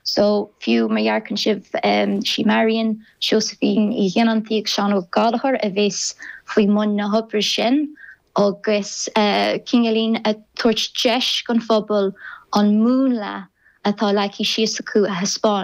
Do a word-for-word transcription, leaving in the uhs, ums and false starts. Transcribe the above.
So fiú má dhearcann sibh sí Marion, Josephine Uí Ghionnantaí agus Seán Ó Gallchóir a bheas faoi mbun na hoibre sin agus cineáilín ag tabhairt deis don phobal an múnla atá leagtha síos acu a thaispeáint.